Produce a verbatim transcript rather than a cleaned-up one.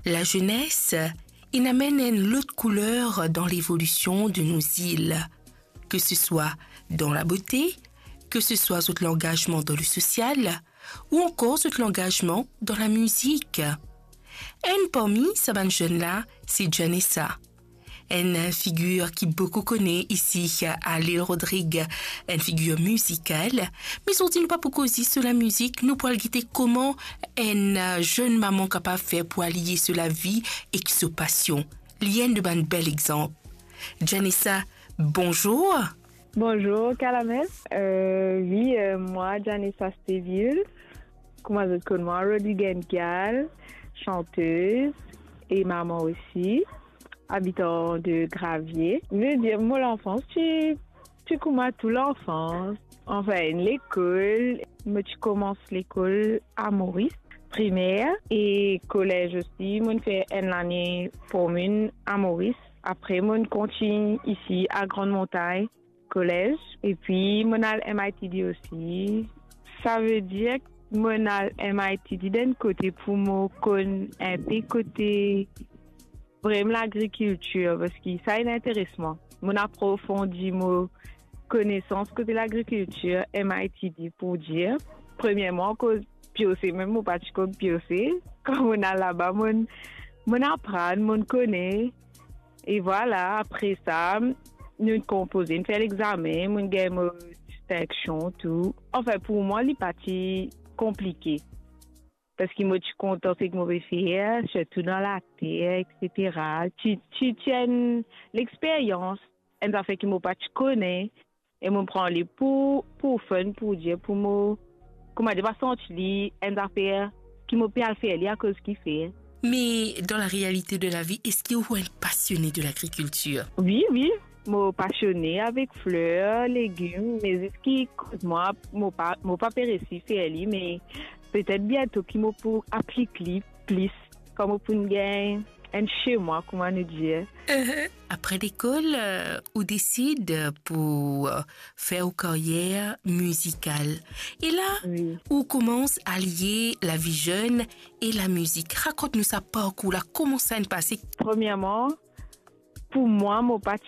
Lazenes inn amenn enn lot kouler dan levolision de nou zil, ke se swa dan labote, ke se swa zot langazman dan lesosial, ou ankor zot langazman dan lamizik. Enn parmi sa bann zenn la, se Janessa. Enn figir ki boukou kone isi a Lil Rodrig, enn figir mizikal. Me zordi nou pa pou koze so lamizik, nou pou al gete kouma enn, eh, zenn mama kapav fer pou aliye so lavi ek so pasion. Li enn de bann bel exanp. Janessa, bonzour. Bonzour, Kalames. Euh, wi, euh, mwa, Janessa Steville. Kouma zot konn mwa, Rodriguez Gal, chanteuse e mama osi, abitan de Gravier. Ve dir, mo lanfans ti, ti kouma tou lanfans. Anfin, lekol, mo ti koumans lekol a Moris, primer e kolez osi. Mo'nn fer enn lane pou mwa a Moris. Apre, mo'nn kontign isi a Grande Montagne College. Epi, mo'nn al M I T D osi. Sa ve dir, mo'nn al M I T D dan enn kote pou mo konn enpe kote vremem lagrikiltir, parski sa inn interes mwa. Mo'nn aprofondi mo konesans kote lagrikiltir, M I T D, pou dir. Premierman, akoz piose, mem mo pa ti konn piose. Kan mo'nn al laba, mo'nn, mo'nn aprann, mo'nn kone. E vwala, apre sa, nou konpoze, nou fer lexame, mo'nn gagn mo distinksion, tou. Anfin, pou mwa, li pa ti konplike. Parski mo ti kontan seki mo pe fer, sirtou dan later, et cetera. Ti, ti, ti enn lexperyans, enn zafer ki mo pa ti kone, e mo pran li pou, pou fun, pou dir, pou mo, kouma dir, pa santi li enn zafer ki mo pe al fer li akoz kifer. Me dan la realite de la vi, eski ou enn pasione de lagrikiltir? Wi, wi, mo pasione avek fler, legim, me zis ki kot mwa, mo pa, mo pa pe resi fer li, me petet biento ki mo pou aplik li plis, kan mo pou gagn enn semwa, kouma nou dir. Apre lekol, eh, ou desid pou, eh, fer ou karyer mizikal. E la, wi, ou koumans aliye lavi zenn e lamizik. Rakont nou sa parkour la, kouma sa inn pase? Premierman, pou mwa, mo pa ti